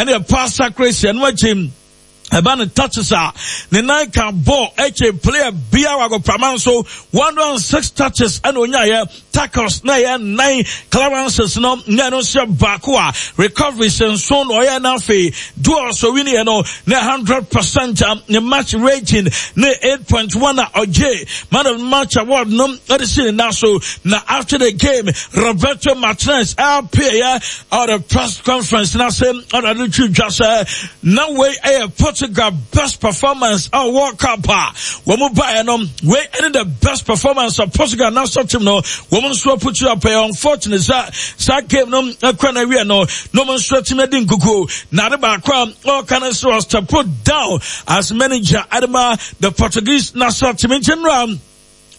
ɛne pass accuracy ɛno akyi ɛba no touches a ne nan ka ball ɛkyɛ player biara wɔ agoprama nso 106 touches ɛna onyaeɛ tackles na ɛyɛ nnan clearances no na ɛno nso yɛ baako a recoveries nso na ɔyɛ na afei duels owiniɛ no na 100% a ne match rating ne 8.1 a ɔgye man of match award no ɛde si ne nan so. Na after the game, Roberto Martinez ɛappear at the press conference na se ɔna de twi dwa sɛ na wei ɛyɛ Portugal best performance a World Cup a wɔn mu baeɛ no, wei ɛne the best performance of Portugal national team no wɔn nso aputu apɛ. Unfortunate sɛ saa game no ɛkɔ na wie no na wɔn nso atumi adi nkukuo. Na ade baako a ɔka no sɛ ɔstep down as manager adema the Portuguese national team. Nti nnora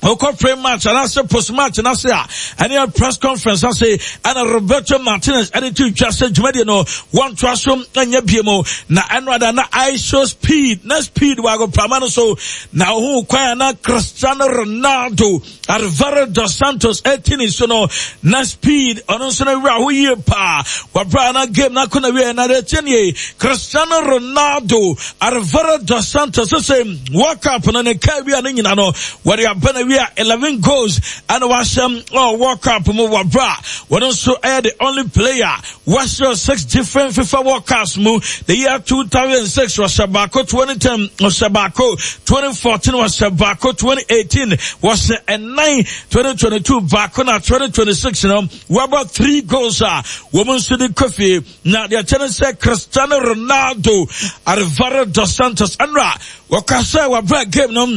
ɔkɔ pre match anaasɛ post match n'ase a ɛne press conference ase ɛna Roberto Martinez ɛde to dwa sɛ dwumadie no wɔntoa so nyɛ bie mu. Na ɛno ada na I show speed na speed wɔ agoprama no so na ohun kwan a na Cristiano Ronaldo, Alvaro dos Santos ɛti ne so no, na speed ɔno nso no wura ho yie paa wɔbra na game na akɔ na wie. Na deɛ tie nie, Cristiano Ronaldo, Alvaro dos Santos sɛ World Cup no ne kaa wia no nyina no wɔde aba na wia 11 goals ɛna wahyɛm ɔ World Cup mu wɔbra. Wɔn nso ɛyɛ the only player wahyɛ six different FIFA World Cups mu. The year 2006 wɔhyɛ baako, 2010 wɔhyɛ baako, 2014 wɔhyɛ baako, 2018 wɔhyɛ ɛnan, 2022 baako, na 2026 no wɔabɔ three goals a wɔn nso de kɔ fie. Na deɛ kyɛ ne sɛ Cristiano Ronaldo, Alvaro dos Santos ɛnora wɔka sɛ wɔabrɛ game no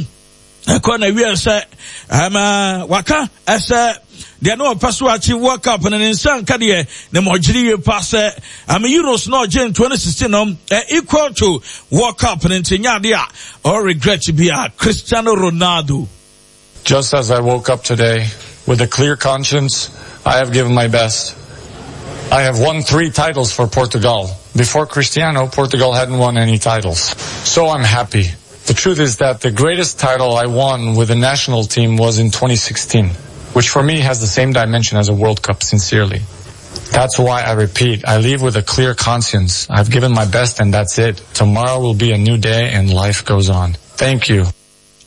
ɛkɔ na wie sɛ ɛma waka ɛsɛ deɛ ne ɔpɛ so akyi World Cup no ne nsa nka deɛ ne ma ɔgyere yie pa sɛ ame Euros na ɔgye in 2016 no ɛ equal to World Cup no, nti nyɛ adeɛ a ɔ regret bi a Cristiano Ronaldo. Just as I woke up today, with a clear conscience, I have given my best. I have won three titles for Portugal. Before Cristiano, Portugal hadn't won any titles. So I'm happy. The truth is that the greatest title I won with the national team was in 2016, which for me has the same dimension as a World Cup, sincerely. That's why I repeat, I leave with a clear conscience. I've given my best and that's it. Tomorrow will be a new day and life goes on. Thank you.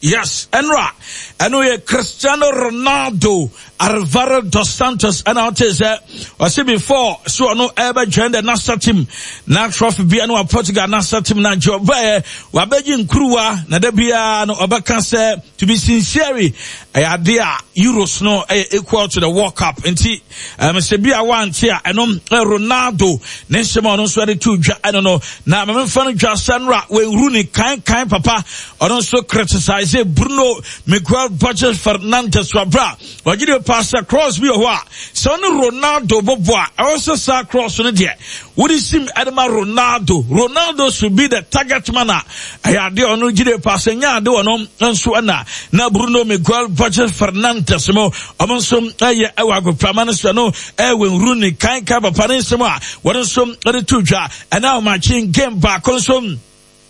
Yes, ɛnora ɛno yɛ Cristiano Ronaldo, Alvaro dos Santos. Ɛna ɔte sɛ ɔse before so ɔno ɛbɛ join the national team na trophy bia no wa Portugal national team na nkyɛ ɔbɛyɛ wabɛgye nkuruwa na da biara no ɔbɛka sɛ, to be sincere, ɛyɛ ade a Euros no ɛyɛ equal to the World Cup. Nti sɛ bi a wante a ɛno Ronaldo ne nsɛm a ɔno nso ɛde to dwa ɛno no. Na mamemfa no dwa sɛ nora wɔnhuru ne kan kan papa, ɔno nso criticize Bruno Miguel Borges Fernandes wabra ɔgye de pa sɛ cross bi wɔ hɔ a sɛ ɔne Ronaldo bɔbɔ a ɛwɔ sɛ saa cross no deɛ wode sim ɛde ma Ronaldo. Ronaldo should be the target man a ɛyɛ adeɛ ɔno gye de pa sɛ nyɛ ade ɔno nso ɛna na Bruno Miguel Borges Fernandes mo ɔmo nso ɛyɛ ɛwɔ agoprama no so no ɛwɔ nwuru ne kan kan papa ne nsɛm a wɔn nso ɛde to dwa. Ɛna ɔmakye game baako nso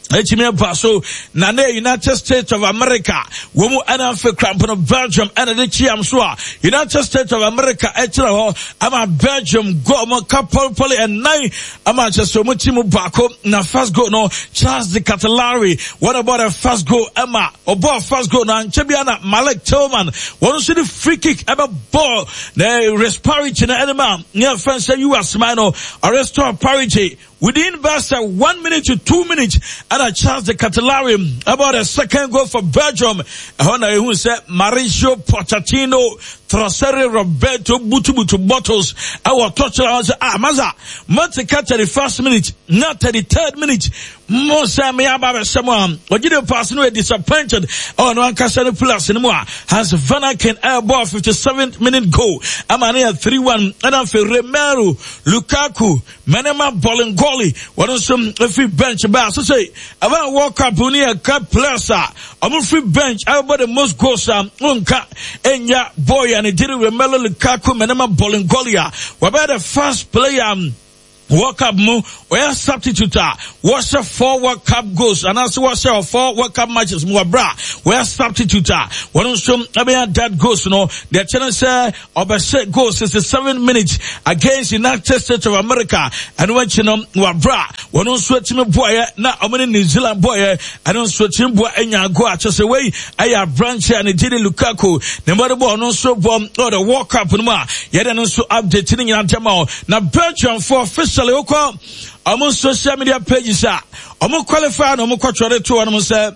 ɛtumi aba so na ne United States of America wɔn mu ɛna afei krampo no Belgium ɛna de kyiam so a United States of America ɛkyerɛ hɔ ama Belgium goal mo ka pɔlipɔli ɛnan ama kyɛ sɛ wɔn ti mu baako. Na first goal no, Charles de Ketelaere wɔn ɛbɔ the first goal ɛma ɔbɔ first goal na nkyɛn bi na Malik Tillman wɔn nso de free kick ɛbɛ bɔɔl na resparity na ɛde ma ne afɛn sɛ US man no ɔrestore parity within best 1 minute to 2 minutes. Ɛna Charles de Ketelaere about the second goal for Belgium. Ɛhɔ na ehu sɛ Mauricio Pochettino, Troceri Roberto butubutu bottles ɛwɔ tɔkyerɛ hɔ sɛ, ah, masa mote ka 31st minute na 33rd minute mo sɛ me aba bɛhyɛ mo a ɔgye de pass no yɛ disappointed ɛwɔ no ankasa no plus no mu a Hans Vanaken ɛbɔ 57th minute goal ama ne yɛ 3-1. Ɛna afei Romelu Lukaku, Mɛnɛma Bolingoli, wɔn nso firi bench baa so sɛ ɛbɛn World Cup no yɛ ka players a wɔn firi bench ɛbɛbɔ the most goals a nka enya boy a ne diri Romelu Lukaku, Mɛnɛma Bolingoli a wɔbɛyɛ the first player World Cup mu. Ɔyɛ substitute a wɔhyɛ four World Cup goals anaasɛ wɔhyɛ wɔ four World Cup matches mu wɔ berɛ a wɔyɛ substitute a wɔn nso ɛbɛnya that goals no. Deɛ kyɛ ne sɛ ɔbɛhyɛ goal 67 minutes against United States of America. Ɛno akyi no wɔ berɛ a wɔn nso atumi boaeɛ na wɔn ne New Zealand boaeɛ, ɛno nso atumi boa anya goal akyɛ sɛ wei ɛyɛ aberanteɛ a ne din de Lukaku ne mmɔde bɔ ɔno nso bɔ wɔ the World Cup no mu a yɛde no nso update ne nyinaa ntɛm a na Belgiumfoɔ officially wokɔ wɔn social media pages a wɔn qualify na wɔn kɔtwerɛ de to wɔn sɛ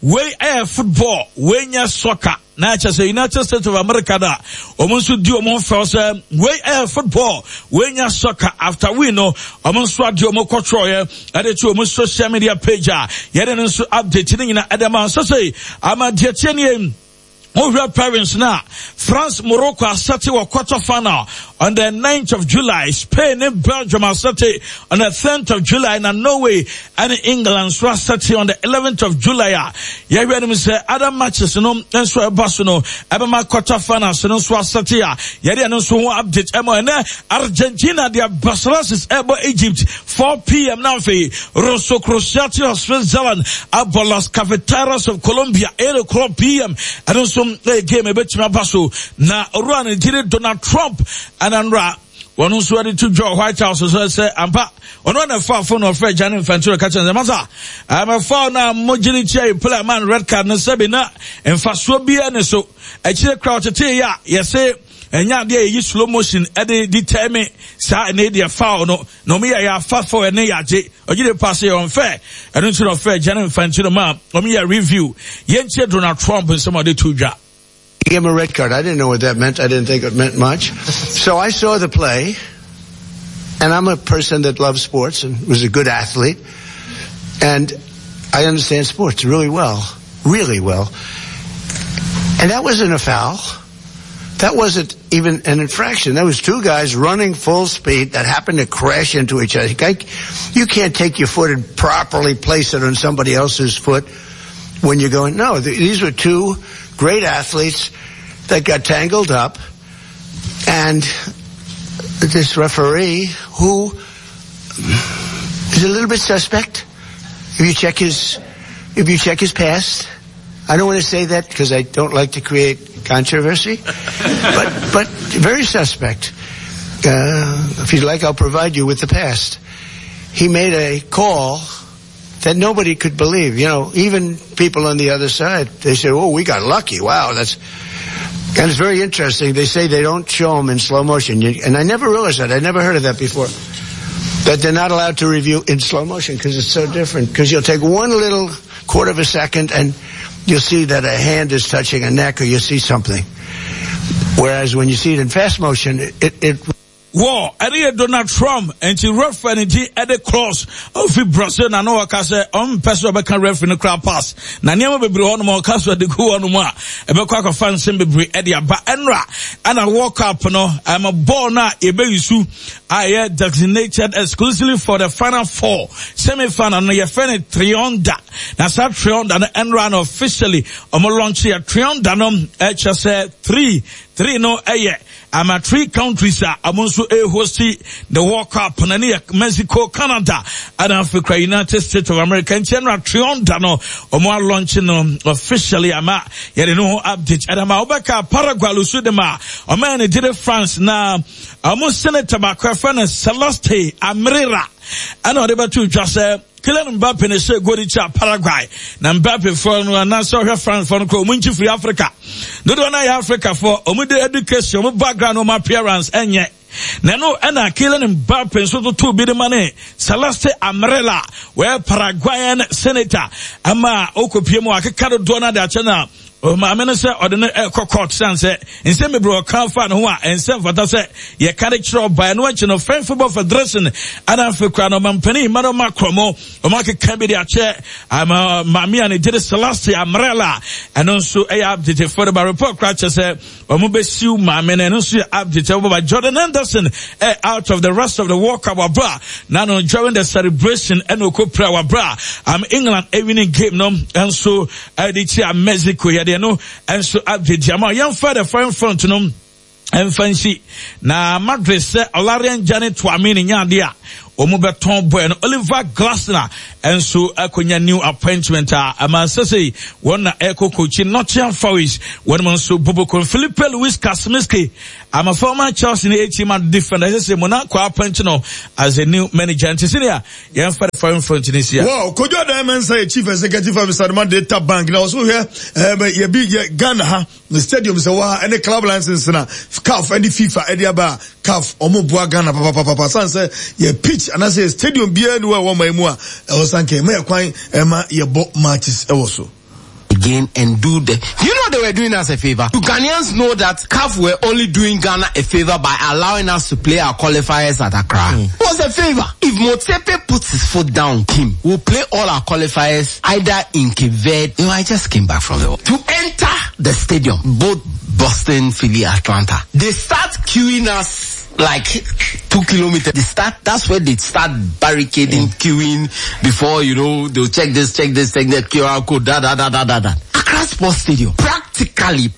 wei ɛyɛ football, wei nyɛ soccer. Na ɛkyɛ sɛ United States of America da wɔn nso di wɔn ho fɛw sɛ wei ɛyɛ football, wei nyɛ soccer. After win no wɔn nso adeɛ wɔn kɔtwerɛeɛ ɛde to wɔn social media page a yɛde no nso update ne nyinaa ɛde ma nso sɛ ama deɛ tie nie. Wohwɛ pairings no a, France Morocco asɛte wɔ quarter final on the 9th of July, Spain ne Belgium asɛte on the 10th of July, na Norway ne England nso asɛte on the 11th of July a yɛhwɛ anim sɛ other matches no nso ɛba so no ɛbɛma quarter finals no nso asɛte a yɛde ɛno nso ho update ɛma ɛnɛ. Argentina de Barcelosis ɛbɔ Egypt 4 pm na afei Rosso Crociati of Switzerland abɔ Los Cafeteros of Colombia 8 o'clock pm. Ɛno nso ɛyɛ game ɛbɛtumi aba so na owura no gyere Donald Trump ɛna nnora wɔn nso de to dwa White House so sɛ ampa ɔno na ɛfa fo na ɔfrɛ Gianni Infantino ka kyerɛ sɛ masa ɛmɛfa na mogyere tia yi player man red card no sɛbi na mfasoɔ biara ne so akyire kora ɔtetee yɛ a yɛse ɛnyɛ adeɛ a yɛyi slow motion ɛde determine saa ɛnɛ deɛ foul no na wɔn yɛ yɛ afa foul ɛne yɛagye ɔgye de paase yɛ ɔnfɛ ɛno nti na ɔfrɛ Gianni Infantino ma wɔn yɛ review. Yɛntie Donald Trump nsɛm a ɔde to dwa. Gave him a red card. I didn't know what that meant. I didn't think it meant much. So I saw the play, and I'm a person that loves sports and was a good athlete, and I understand sports really well, really well. And that wasn't a foul. That wasn't even an infraction. That was two guys running full speed that happened to crash into each other. You can't take your foot and properly place it on somebody else's foot when you're going. No, these were two great athletes that got tangled up, and this referee, who is a little bit suspect, if you check his past, I don't want to say that because I don't like to create controversy, but very suspect. If you'd like, I'll provide you with the past. He made a call that nobody could believe. Even people on the other side, they say, oh, we got lucky. Wow, that's... And it's very interesting. They say they don't show them in slow motion. And I never realized that. I never heard of that before. That they're not allowed to review in slow motion because it's so different. Because you'll take one little quarter of a second and you'll see that a hand is touching a neck or you see something. Whereas when you see it in fast motion, it Wɔ ɛne yɛ Donald Trump nti referee no gye ɛde cross ofi Brazil na no ɔka sɛ ɔmpɛ sɛ ɔbɛka referee no kora pass na nneɛma bebree hɔ nom ɔka so de gu hɔ nom a ɛbɛkɔ akɔfa nsɛm bebree ɛde aba. Ɛnora ɛna World Cup no ɛma bɔɔl no a yɛbɛyi su a ɛyɛ designated exclusively for the final four semi final no yɛfrɛ no Trionda na saa Trionda no ɛnora no officially ɔmo launch yɛ Trionda no ɛkyɛ sɛ 3 3 no ɛyɛ ama three countries a ɔmo nso ɛrehosti the World Cup na ne yɛ Mexico, Canada ɛna afei kora United States of America. Nti ɛnora Trionda no ɔmo alaunch no officially ama yɛde no ho update ɛna ma wobɛka Paraguay lusu de ma ɔmo yɛ ne gyere France na ɔmo senator baako ɛfɛ no Celeste Amirira ɛna ɔde bɛto dwa sɛ Kylian Mbappe na ɛhyɛ goal de kyia Paraguay na Mbappe foɔ no anaasɛ ɔhwɛ France foɔ no kɔ ɔmo nkyi firi Africa dodoɔ no ayɛ Africa foɔ ɔmo de education ɔmo background ɔmo appearance ɛnyɛ na ɛno ɛna Kylian Mbappe nso toto bi de ma ne Celeste Amarela wɔyɛ Paraguayan senator ama ɔkɔpie mu akeka dodoɔ no ade akyɛ no a maame no sɛ ɔde no ɛkɔ court san sɛ nsɛm bebree ɔka fa ne ho a ɛnsɛ mfata sɛ yɛka de kyerɛ ɔbaa. Ɛno akyi no French Football Federation ana afei kora no ɔmampanin Emmanuel Macron mo ɔmo akeka bi de akyɛ ama maame a ne gyere Celeste Amarela. Ɛno nso ɛyɛ update fo de ba. Report kora kyerɛ sɛ ɔmo bɛsiw maame no. Ɛno nso yɛ update ɛwɔ baba. Jordan Henderson ɛ out of the rest of the World Cup wabra na no during the celebration ɛna ɔkɔ pira wabra am England winning game no nso ɛde kyia Mexico. Yɛde no nso update ama yɛmfa the foreign front no ɛmfa nsi na Madrid sɛ Aurelien Gianni Tchouameni nya adeɛ a wɔn bɛtɔn bɔɛ no. Oliver Glasner nso akɔnya new appointment a ama sɛsei wɔn na ɛkɔ coachi Nottingham Forest. Wɔn nso bobokon Felipe Luis Kasmiski ama former Chelsea ne AC Madrid defender sɛsei Monaco appoint no as a new manager. Nti sɛnea yɛmfa the foreign front ne sia. Wow, Kojo Adan Mensah yɛ chief executive officer de ma Data Bank na ɔso hwɛ ɛɛ yɛbi yɛ Ghana ha stadium sɛ wɔ ha ɛne club license na CAF ɛne FIFA ɛde aba a CAF ɔmo boa Ghana papapapa san sɛ yɛ pitch anaasɛ yɛ stadium biara ni wɔ ɛwɔ ɔman mu a ɛwɔ sanka ɛma yɛ kwan ɛma yɛbɔ matches ɛwɔ so. Again and do the. You know they were doing us a favor. Do Ghanaians know that CAF were only doing Ghana a favor by allowing us to play our qualifiers at Accra? It was a favor. If Motsepe puts his foot down, Kim will play all our qualifiers either in Cape Verde. You know, I just came back from the to enter the stadium, both Boston, Philly, Atlanta. They start queuing us like 2 kilometers. They start, that's where they start barricading, queuing before, you know, they'll check this, check this, check that QR code, da, da, da, da, da, da. Accra Sports Stadium. Practically,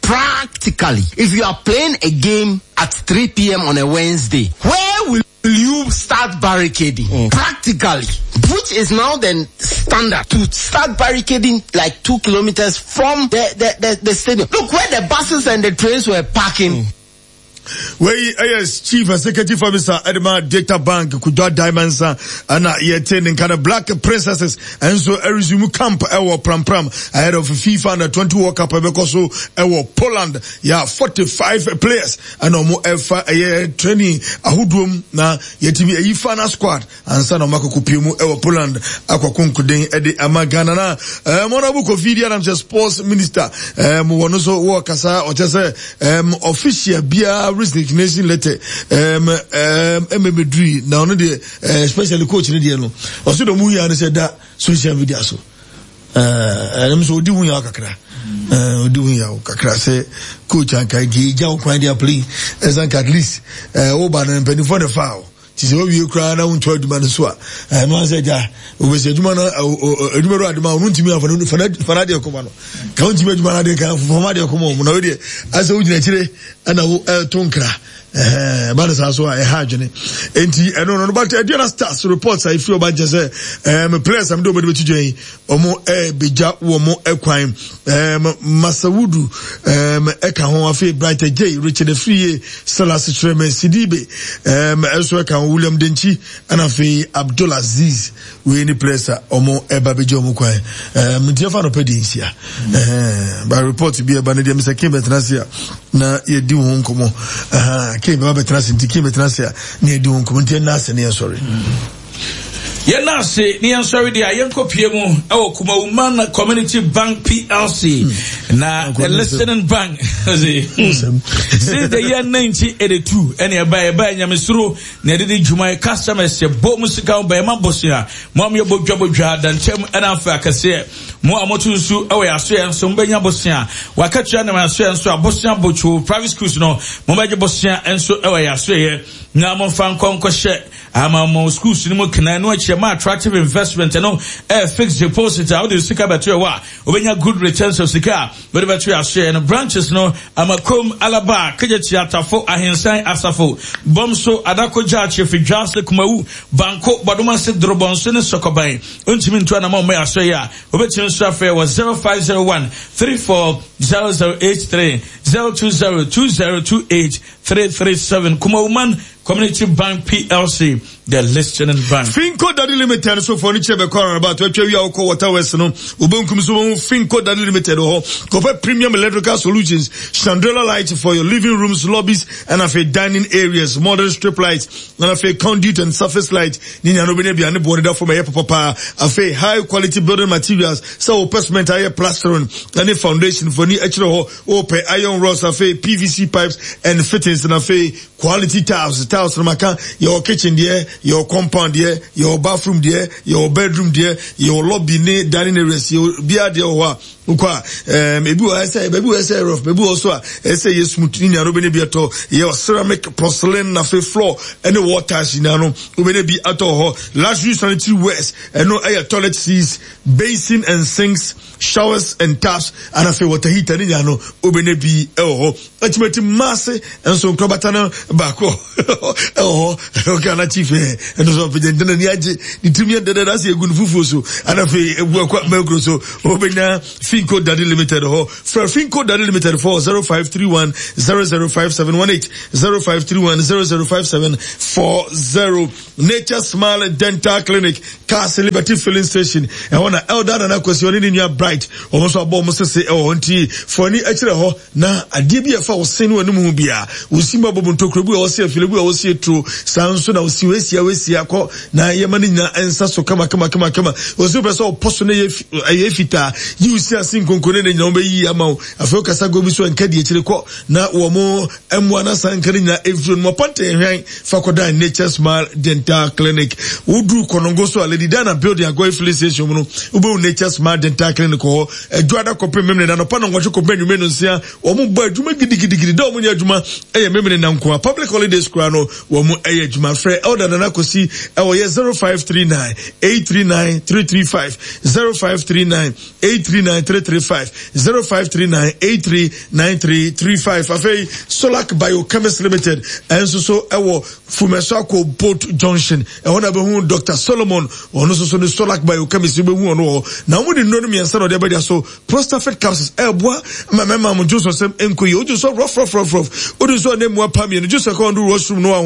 if you are playing a game at 3 p.m. on a Wednesday, where will you start barricading? Practically, which is now the standard to start barricading like 2 kilometers from the stadium. Look where the buses and the trains were parking. Wei ɛyɛ chief executive officer ɛde Data Bank Kojo Adan Mensah ɛna yɛte ne nka no. Black Princesses ɛnso ɛresume camp ɛwɔ Prampram ahead of FIFA Under 20 World Cup ɛbɛkɔ so ɛwɔ Poland. Yɛ 45 players ɛna ɔmo ɛfa ɛyɛ training ahodoɔ mu na yɛtumi ɛyi final squad ansa na ɔmo akɔkɔ pie mu ɛwɔ Poland akɔko nkoden ɛde ama Ghana. Na Honourable Kofi Idi Adams, sports minister, wɔn nso wɔ kasa ɔkyɛ sɛ official biara resignation letter ɛmɛmɛduri na ɔno deɛ, especially coach ne deɛ no, ɔso de ɔmo yia no sɛ da social media so. Ɛnum so odi hu yaw kakra, odi hu yaw kakra sɛ coach anka deɛ egya wo kwan de aplay ɛsan ka at least woba no mpanimfoɔ ne fa o ti sɛ wawie koraa na wonto adwuma no so a, ɛno ansɛ gya wobɛsi adwuma no, adwuma do adema ɔno ntumi afa fana deɛ kɔma no ka wontumi adwuma no adeɛ ka fama deɛ kɔma ɔmo na wodeɛ asɛ wogyina akyire ɛna wo ɛto nkra ɛba no saa so a ɛha adwene. Enti ɛno no, but Aduana Stars reports a ɛfiri ɔba nkyɛ sɛ players am de ɔmɔde bɛtu dwan yi ɔmo ɛbɛgya wɔ mo ɛkwan. Masawudu ɛka ho, afei Bright J, Richard Afriye, Salas Kyerɛmɛ, Sidibe ɛnso ɛka ho, William Denkyi, ɛna afei Abdul Aziz. Wei ne players a ɔmo ɛba bɛgya ɔmo kwan. Nti ɛfa nɔpɛ deɛ nsia ba report bi ɛba no deɛ mesɛ King bɛtena ase a na yɛdi ho nkɔmmɔ. King bɛba bɛtena ase, nti King bɛtena ase a na yɛdi ho nkɔmmɔ, nti ɛnna ase ne yɛsɔre. Yɛn ase ne yɛn sɔre deɛ a yɛnkɔ pie mu ɛwɔ Kumawuman Community Bank PLC na the listening bank since the year 1982 ɛne ɛba ɛba nyamesuro na yɛde di dwuma. Yɛ customers yɛ bɔ mu sika ho bɛyɛ bosea mo a moyɛ bodwa bodwa dankyɛm ɛna afei akɛseɛ mo a moto nsu ɛwɔ yɛ asoɛ nso mobɛnya bosea wakatua nam asoɛ nso a bosea botwo private schools no mobɛgye bosea nso ɛwɔ yɛ asoɛ yɛ na momfa nkɔ nkɔhyɛ ama mo schools no mu kena no akyerɛ ma attractive investment no ɛyɛ fixed deposit a wode sika bɛto ɛwɔ a wobɛnya good returns of sika a wode bɛto yɛ asoɛ no. Branches no Amakom, Alaba, Kegyekye, Atafo, Ahensan, Asafo, Bɔmso, Adako, Gyaakye, Fidwase, Kumawu, Banko, Bɔdomase, Dorobɔnso ne Sɔkɔban. Wontumi ntu anama ɔmmɔ yɛ asoɛ yi a, wobɛtumi nso afrɛ wɔ 0501 340083, 020 2028 337. Kumawuman Community Bank PLC, the listening bank. Finco Daddy Limited so for ni chebe kwa about atwa wi akɔ Water West no obenkum so ho. Finco Daddy Limited hɔ kɔpɛ premium electrical solutions, chandelier lights for your living rooms, lobbies and afei dining areas, modern strip lights and afei conduit and surface light ni nyano benya bia ne boɔ da fam ɛyɛ papapa. Afei high quality building materials, sɛ wopɛ cement ayɛ plastering ɛne foundation for ni akyerɛ hɔ, wopɛ iron rods, afei PVC pipes and fittings, na afei quality tiles. Tiles no maka, yɛwɔ kitchen deɛ, yɛwɔ compound deɛ, yɛwɔ bathroom deɛ, yɛwɔ bedroom deɛ, yɛwɔ lobby ne dining areas, yɛwɔ biara deɛ wɔ hɔ a. Wokɔ a, ɛɛm, ebi wɔ hɔ ɛsɛ, baabi wɔ ɛsɛ rough, baabi wɔ so a ɛsɛ yɛ smooth. Ne nyinaa no wobɛnya bi atɔ. Yɛ ceramic, porcelain, na afei floor ɛne wall tiles nyinaa no wobɛnya bi atɔ wɔ hɔ. Luxury sanitary wares, ɛno ɛyɛ toilet seats, basin and sinks, showers and taps, ɛna afei water heater ne nyinaa no wobɛnya bi ɛwɔ hɔ. Atimati mmaase nso nkorabata no baako ɛwɔ hɔ ɔka na chief ɛ ɛno nso ɔpɛgya ntina ni agye ne tirim yɛ dɛdɛ ase egu ne fufuo so ɛna afei egu akɔ mɛnkuro so ɔbɛnya Finco Daddy Limited hɔ frɛ Finco Daddy Limited for 0531 005718 0531 005740 Nature Smile Dental Clinic Cars Liberty Filling Station ɛhɔ na Elder Nana Kwesi ɔne ne nua Bright wɔn nso abɔ wɔn sese ɛwɔ hɔ nti fɔni akyerɛ hɔ Na adeɛ bi a ɛfa wo se ne w'anum ho biara, wo si mu abɔ mu ntokuro bi a wɔsi afile bi a wɔsi eturo, saa nso na wosi wesia wesia kɔ na yɛma ne nyinaa nsa so kama kama kama kama. Wɔsi wopɛ sɛ ɔpɔ so na ɛyɛ fitaa, yi wo si ase nkonko ne ne nyinaa wɔbɛyi ama wo. Afei wokasa go bi so nka di akyire kɔ na wɔn mmoa na saa nka ne nyinaa ɛmfiri no. Mɔpɔnte hwɛn fa kɔdan Nature Smile Dental Clinic. Woduru Kɔnɔngo so a Lady Diana Building Agɔyi Filling Station mu no, wobɛhu Nature Smile Dental Clinic wɔ hɔ. Adwoada kɔpem Memeneda anɔpa nnɔnwɔtwe kɔpem anwummere nnɔnsia. Wɔn bɔ adwuma gidigidigidi. Da a wɔn nyɛ adwuma yɛ Memeneda nkoa. Public holidays koraa no wɔn yɛ adwuma. Frɛ Elder Nana Kwesi ɛwɔ yɛ 0539 839 335 0539 839 335 0539 839 335. Afei Solac Biochemist Limited ɛnso so ɛwɔ Fumɛso akɔ Boat Junction. Ɛhɔ na bɛhu Dr. Solomon, ɔno nso so ne Solac Biochemist wobɛhu ɔno wɔ hɔ. Na wɔn de nnuro no mmiɛnsa na ɔde abɛgya so. Prostafit capsules ɛɛboa ma mmarima mo dwonsɔ sɛm nkɔ yie. Wodwo sɔ rɔf rɔf rɔf rɔf. Wodwo sɔ ne mua pa mmienu. Dwonsɔ kɔ ɔndo washroom no wa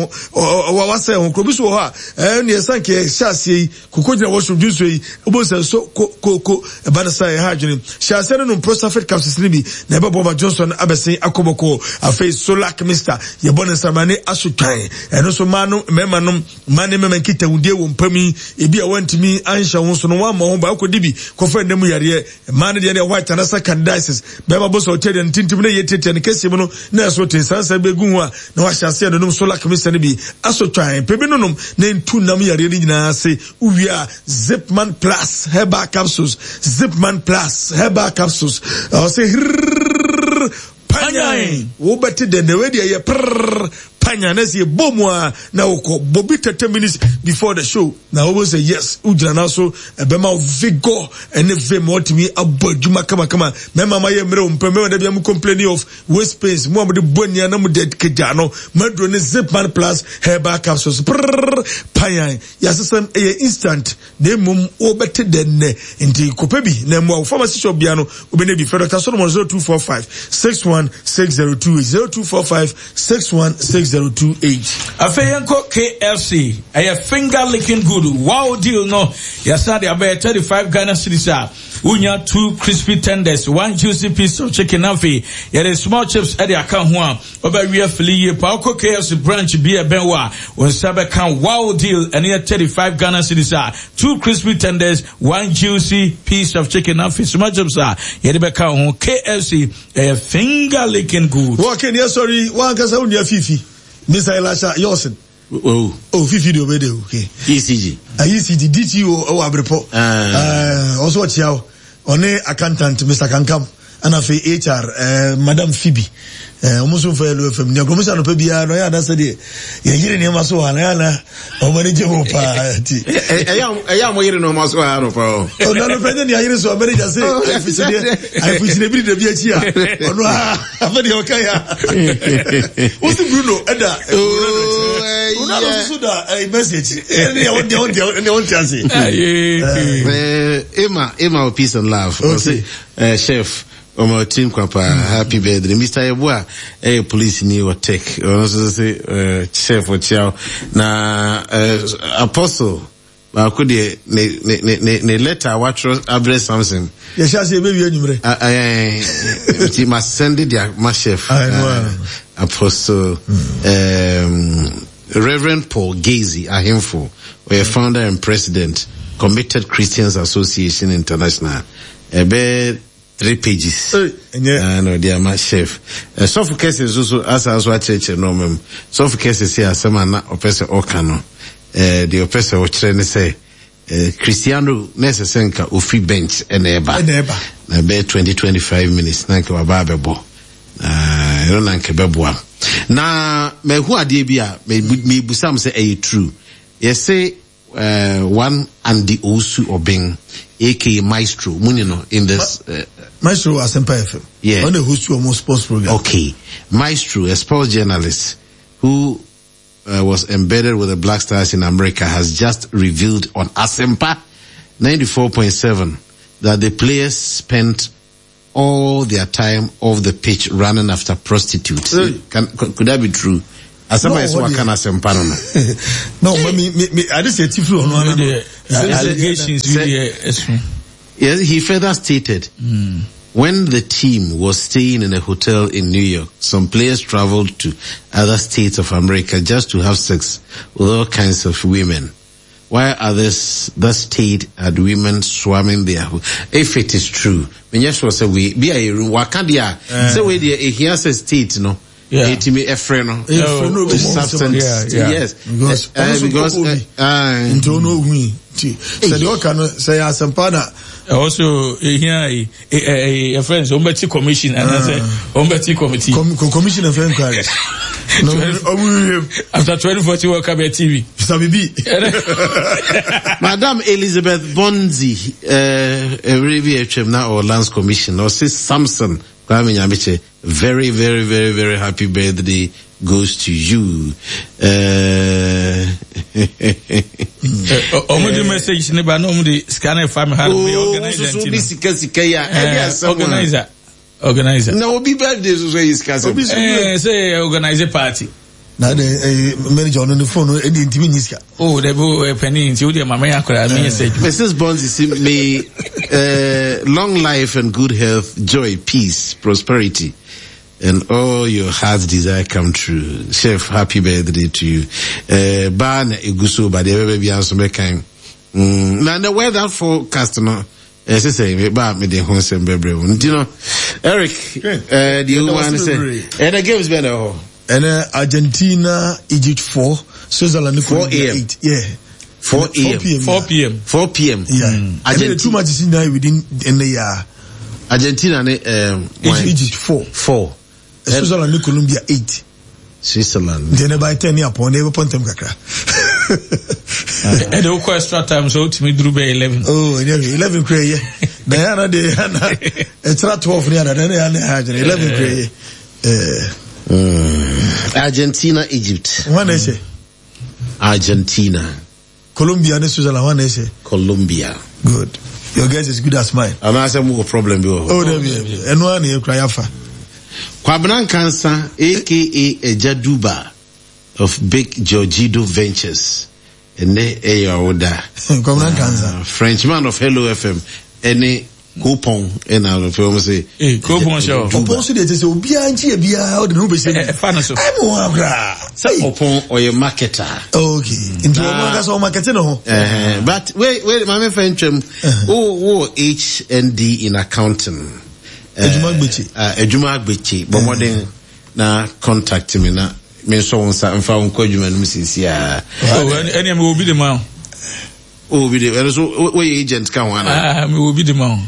wasɛn ho. Kuro bi so wɔ hɔ a ɛɛ neɛ sanke ɛhyɛ aseɛ yi. Koko gyina washroom dwonsɔ yi. Wobɛhu sɛ nso ko ko ko ɛba no saa ɛha adwene. Hyɛ aseɛ no nom Prostafit capsules no bi na ɛbɛboa ma dwonsɔ no abɛsen akɔ bɔkɔɔ. Afei Solac Mister yɛbɔ ne nsamane aso twan. Ɛno nso mmaa nom mmarima nom mmaa ne mmarima nkitahudie wɔ mpa mu yi ebi a wantumi anhyɛ ho so no wammɔ ho ban wokɔdi bi kɔfa nna mu yareɛ. Mmaa no deɛ deɛ white anasa candidiasis bɛrima bɔ sɛ ɔkyɛ deɛ no tintim na ɛyɛ tiatia ne kɛseɛ mu no na ɛso te nsansa bɛgu ho a na wahyɛ aseɛ nonom Solac Mister no bi aso twan. Pɛ bi nonom na ɛntu nam yareɛ no nyinaa ase. Wowie a Zipman Plus herbal capsules, Zipman Plus herbal capsules. Ɔsɛ hirrrr panyan. Wobɛte dɛ na wei deɛ yɛ prrrr panyan na sɛ yɛbɔ mu a na wokɔ bɔ bi 30 minutes before the show na wobɛ sɛ yes wogyina no so ɛbɛma wo vigor ɛne vim wɔtumi abɔ adwuma kamakama. Mɛma ma yɛ mmerɛ wo mpɛ mɛma da bia mo complaining of waist pains mo a mode bɔ ania na mode kagya no maduro ne Zipman Plus herbal capsules prrrr panyan. Yɛasesam ɛyɛ instant na mmom wobɛte dɛ nnɛ nti kɔpɛ bi na mmoa wo pharmacy shop bia no wobɛnya bi frɛ Dr. Solomon 0245 616028 0245 616028. Afei yɛnkɔ KFC, ɛyɛ finger licking good wow deal no yɛsan de abɛyɛ 35 Ghana cedis a wonya two crispy tenders, one juicy piece of chicken afei yɛde small chips ɛde aka ho a Wobɛwe afili yie paa. Wokɔ KFC branch bi a ɛbɛn wo a, wo nsa bɛka wow deal. Ɛno yɛ 35 Ghana cedis a two crispy tenders, one juicy piece of chicken afei soma chips a yɛde bɛka wo ho. KFC ɛyɛ finger licking good. Wɔ Ken yɛ sɔre yi, w'ankasa wo nua Fifi, Mr. Elisha Yɔsen. Oh. Oh, Fifi de obede o. Okay. ECG. Ah, ECG, DTO ɛwɔ Abrepɔ. Ah. Ɔso ɔkyia wo. Ɔne accountant Mr. Kankam ɛna afei HR eh, Madam Phoebe. Eh, ɔmo nso mfa yɛlò fam. Nea kɔmisa anɔpa biara no ɔyɛ ana sɛdeɛ yɛyere nneɛma so wɔ ha na ɔyɛ ana ɔmo ani gye ho paa ti. Ɛyɛ a mo yere nneɛma so wɔ ha anɔpa o. Ɔno anɔpa nyɛ nea yere so a manager se ayifusideɛ ayifusideɛ bi de dabi akyi a ɔno a afɛ deɛ ɔka ya. Wosi Bruno ɛda Ronaldo akyi. Ronaldo nso da Messi akyi. Ɛne deɛ ɔnte ɛne ɔnte ase. Emma Emma peace and love. Okay. Ɔse chef ɔma ɔtiri nkwa paa happy birthday Mr. Yeboah ɛyɛ police ni wɔ tech ɔno nso sɛ chef ɔkyia na apostle baako deɛ ne ne ne ne ne letter a watwerɛ abrɛ Samson. Yɛhyɛ ase yɛbɛwie anwummerɛ. Nti ma send de ma chef apostle um, Reverend Paul Gazy Ahemfo ɔyɛ founder and president Committed Christians Association International ɛbɛ 3 pages na ɔde ama chef. Sɔfo kɛse nso so asan so akyerɛkyerɛ nneɛma mu. Sɔfo kɛse se asɛm a na ɔpɛ sɛ ɔka no, deɛ ɔpɛ sɛ ɔkyerɛ ne sɛ, Eh, Cristiano na ɛsɛ sɛ nka ofiri bench ɛna ɛba. Ɛna ɛba. Na ɛbɛyɛ 20 25 minutes na nka waba abɛbɔ. Na ɛno na nka ɛbɛboa. Na mahu adeɛ bi a mebusam sɛ ɛyɛ true. Yɛse uh, one Andy Owusu Obeng, aka Maestro, muni no in this. Uh, Maestro Asempa FM. Yeah. On the host to sports program. Okay. Maestro, a sports journalist who uh, was embedded with the Black Stars in America, has just revealed on Asempa 94.7 that the players spent all their time off the pitch running after prostitutes. Hey. Can, could, could that be true? Asɛm a yɛsɛ waka no asɛmpa no no. No, but me, me, me, I just say tifiri ɔno ano. Allegations Yes, he further stated, mm. when the team was staying in a hotel in New York, some players traveled to other states of America just to have sex with all kinds of women. While others that stayed had women swarming their If it is true, menyɛ sure sɛ wei bi a yɛru waka deɛ a sɛ wei deɛ ehia sɛ state no etimi ɛfrɛ no to substance yes because because nti ɔno ohun yi nti sɛ deɛ ɔka no sɛ yɛ asɛmpa na. ɛwɔ so ehia yi ɛ yɛfrɛ no sɛ wɔn bɛ ti commission anaasɛ wɔn bɛ ti committee. commission of inquiry. after 2014 world cup yɛ tv. sabibi. madam elizabeth bonzi ɛwere bi atwam na ɔwɔ lands commission ɔse samson kwame nyamekyɛ very very very very happy birthday goes to you. Ọmọ di message ni ba na ọmọ di sika na ẹfa mi ha mi organizer nti no. sika sika yi a ẹdi asẹm a. Organizer organizer. Na obi birthday soso yi sika sẹm. Ẹẹ sẹ organizer party. Na de eh, manager ɔno ne phone no ɛdi ntumi nyi sika. Oh, dɛbi o ɛ panyin nti o deɛ maame yɛ akora mi yɛ sɛ adwuma. Mrs. Bonzi si may uh, long life and good health, joy, peace, prosperity and all your heart's desire come true. Chef, happy birthday to you. Uh, ba na eguso ba de bebe bi anso mekan. Mm, na the weather forecast no ɛsɛ sɛ ba me de ho nsɛm bebree wo. Nti no Eric, eh the woman say, eh the games bɛ na hɔ. Ɛnɛ Argentina, Egypt 4, Switzerland 4 a.m. 8. Yeah. 4 a.m. 4 p.m. 4 p.m. Yeah. Mm. Argentina. Two matches in within in the year. Argentina ne um, Egypt, Egypt 4. 4. Switzerland ne Colombia 8. Switzerland. Nti ɛnɛ by 10 ne apɔn na ɛbɛpɔ ntɛm kakra. Ɛde wokɔ extra time so wotumi duru bɛ 11. Oh, ɛnyɛ hwee 11 kura yɛ. Na yɛ ana de yɛ ana ɛkyerɛ 12 ne ana na yɛ ana yɛ agyina 11 kura yɛ. Mm. Argentina, Egypt. Wɔn na ɛhyɛ. Argentina. Colombia ne Switzerland wɔn na ɛhyɛ. Colombia. Good. Your guess is good as mine. Anaasɛ mo wɔ problem bi wɔ hɔ. Oh, dabi ɛno ara na yɛ kura yafa. Kwabena Nkansa aka Eja Duba of Big Georgido Ventures. Ɛnɛ ɛyɛ ɔwoda. Kwabena Nkansa. Frenchman of Hello FM ɛne Kopɔn ɛna afei wɔn sɛ. Ee Kopɔn hyɛ hɔ. Ɔpɔn so deɛ kyɛ sɛ obiara nkyi yɛ biara ɔde ne ho bɛhyɛ mu. Ɛfa no so. Ɛmu wɔn akora. Sɛ ɔpɔn ɔyɛ marketer. Okay nti wɔn ankasa wɔn market ne ho. But wait wait maame fɛn twɛm wo wo HND in accounting. Adwuma agbekye. Adwuma agbekye bɔ mmɔden na contact me na me nsɔ wo nsa mfa wo nkɔ adwuma no mu sisi a. Ɛnna mi wɔ bi de ma o. Oh, bi de ɛno so woyɛ agent ka ho ana. Ah, mi wɔ bi de ma o.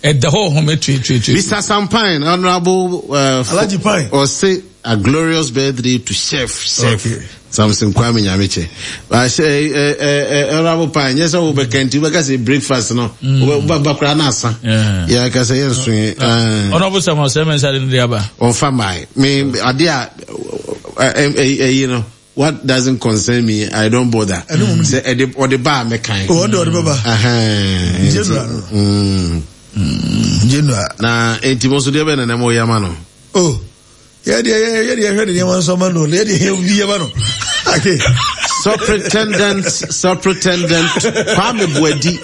Ɛda hɔ ɔhɔn mɛ tue tue tue. Mr. Sampine, honourable. Alhaji Pine. Ɔse a glorious birthday to chef chef. Okay. Samson Kwame Nyamekyɛ. Ahyɛ ɛ ɛ honourable Pine, nyɛ sɛ wobɛka nti wobɛka sɛ breakfast no. Wobɛba koraa na asa. Yɛ ka sɛ yɛn so yi. Honourable Samuel Sɛmɛn sáré ne de aba. Ɔnfa maa me ade a ɛyi no. What doesn't concern me, I don't bother. Sɛ ɛde ɔde ba a mɛkan. Ɔde ɔde bɛba. General no. General. Na eti mo nso deɛ bɛ na na mo yɛ ama no. Oh, yɛ deɛ yɛ deɛ hwɛ ne nneɛma nso ama no, yɛ deɛ yɛ bi yɛ ma no. Okay. Superintendent, Superintendent Kwame Buadi,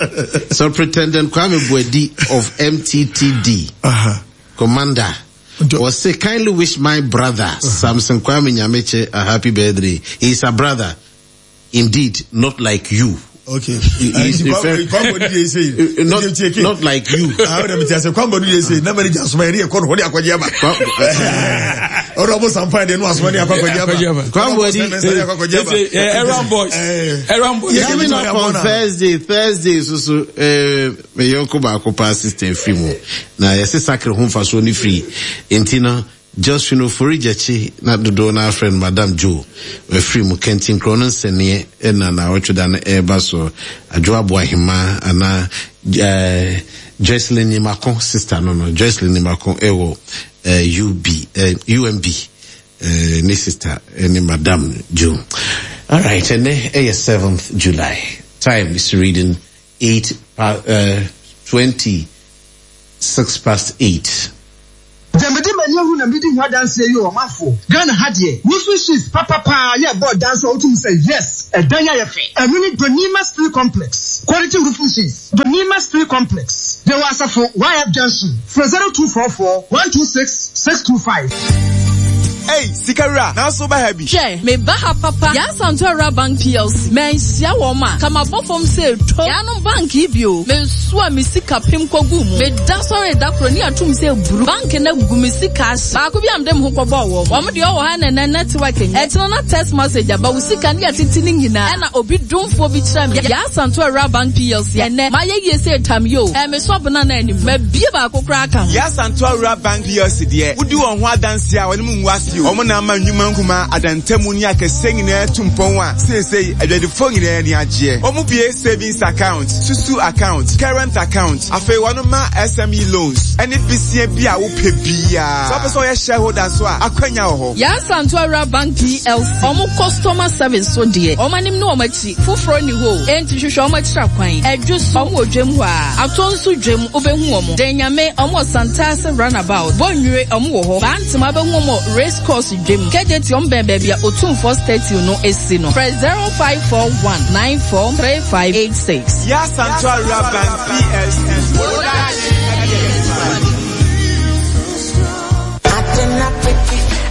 Superintendent Kwame Buadi of MTTD, uh-huh. Commander. Ɔse kindly wish my brother uh-huh. Samson Kwame Nyameche a happy birthday. He is a brother indeed, not like you. Okay. Not, not like you. Na manager asoma yɛ kɔ no hɔ de akɔgye aba. Ɔdɔ ɔmo sampa de no asoma de akɔ akɔgye aba. Kwambo di. Aaron boys. Aaron boys. Coming up on Thursday, Thursday so so eh me yɔnko baako paa sister firi mu. Na yɛse sakre ho mfasoɔ ne firi. Nti no Josephine Ofori Gyakye na dodoɔ no ara frɛ no Madam Joe wafiri mu. Kɛntinkorɔ no nsɛnneɛ na naawɔtwe da no ɛreba soɔ. Adwoa Aboahemaa anaa eh, Joycelyn Nimako sister no no, Joycelyn Nimako ɛwɔ eh, UB, eh, UMB eh, ne sister eh, ne Madam Joe. Alright, ɛnɛ ɛyɛ 7th July. Time is reading 8, uh, 26 past 8. Deɛ mede m'ani ahu na medi ho adanseɛ yi o ɔmanfoɔ, Ghana ha deɛ roofing sheets papa paa yɛ ɛbɔ dan so a wotumi sɛ yes ɛdan yi ayɛ fɛ. Ɛno ne Donima Steel Complex quality roofing sheets, Donima Steel Complex, yɛwɔ Asafo YF Junction, frɛ 0244 126 625. Ei, Sikawura, nanso woba ha bi? Hwɛ, meba ha papa. Yaa Santua Bank PLC, manhyia wɔn a, ka mabɔ fam sɛ to. Yaanom bank yi bio, mesoa me sika pem kɔguu mu. Meda sɔree da koro ne atom sɛ buru. Bank no agu me sika ahye. Baako bi a mede me ho kɔbɔɔ wɔn. Wɔn deɛ ɔwɔ ha nnɛ network nyɛ. Ɛkyena na text message aba, wo sika ne yɛatete ne nyinaa. Ɛna obi domfoɔ bi kyerɛɛ me Yaa Santua Bank PLC. Ɛnnɛ, mayɛ yie sɛ tam yi o. Ɛɛ, mesɔ abena no anim. Mabie baako koraa aka ho. Yaa Santua Bank PLC deɛ, wodi wɔn ho adanseɛ a, wɔne mo ngu ase o. Wɔn na ama nnwuma nkumaa, adantamu ne akɛseɛ nyinaa atu mpɔn a seesei adwadifoɔ nyinaa ani agyeɛ. Wɔbue savings account, susu account, current account, afei wɔma SME loans ne besia bi a wopɛ biara. Sɛ wopɛ sɛ woyɛ shareholder nso a, akwanya wɔ hɔ. Yaa Asantewaa Bank PLC, wɔn customer service so deɛ, wɔn anim ne wɔn akyi, foforɔ nni hɔ o, enti hwehwɛ wɔn akyiri akwan. Adwo so, wɔn wɔ dwam hɔ ara. Atɔ nso dwam, wobɛhu wɔn. Danyame, wɔn wɔ Santase Runabout. Bonnwire, wɔn wɔ hɔ. Bantama, wobɛhu wɔn wɔ Race Course dwam. Kejetia, wɔn bɛn baabi a Otumfoɔ statue no si no. Frɛ 0541 943586. Yaa Asantewaa Bank PLC, wo daakye yɛ yɛn agyapadeɛ.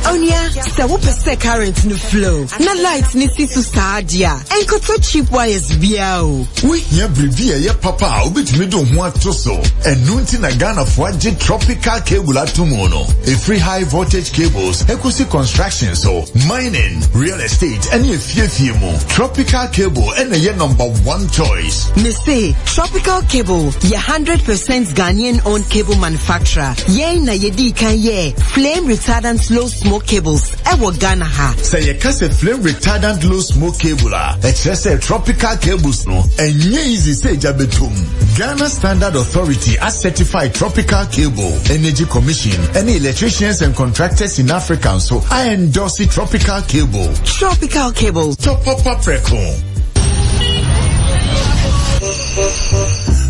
Onua, sɛ wopɛ sɛ current no flow na light no si so saa deɛ a, ɛnkɔtɔ cheap wires biara o. Wohia biribi a ɛyɛ papa a wobɛtumi de wo ho ato so. Ɛno nti na Ghanafoɔ agye tropical cable ato mu no. Ɛfiri high voltage cables ɛkɔsi construction so, mining, real estate ɛne afiefie mu. Tropical cable ɛna ɛyɛ number one choice. Mese, Tropical Cable yɛ 100% Ghanaian owned cable manufacturer. Yɛn na yɛdii kan yɛɛ flame retardant low smoke cables ɛwɔ Ghana ha. Sɛ yɛka sɛ flame retardant low smoke cable a, ɛkyerɛ sɛ tropical cables no, ɛnyɛ easy sɛ egya bɛtɔ mu. Ghana Standard Authority acertify tropical cable, Energy Commission ɛne Electricians and Contractors in Africa nso aendorse tropical cable. Tropical cable. Tɔ papa prɛko.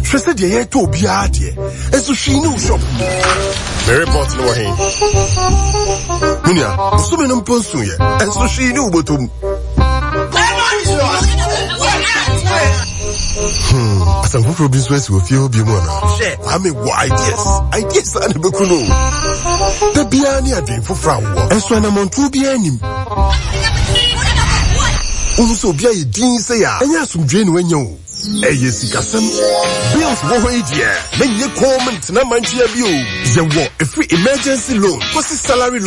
Hwɛ sɛ deɛ yɛretɔ obiara deɛ, nso hwee ne wo shop mu. Me report no wɔ he? Me nua, bosome no mpo nsoeɛ, nso hwee ne wo bɔtɔ mu. Hmm, asɛm foforɔ bi nso asi wɔ fie hɔ bio mu anaa? Hwɛ, Kwame wɔ ideas. Ideas a na ɛbɛku no. Da biara ne adwene foforɔ a wowɔ. Nso anammɔntuo biara nim. Wohu sɛ obi ayɛ din sɛ a, ɛnyɛ asomdwoe na wanya o. Ɛyɛ sikasɛm. Bills wɔ hɔ yi deɛ, menyɛ komm ntena mankyea bio. Yɛwɔ ɛfiri emergency loan kɔsi salary loan.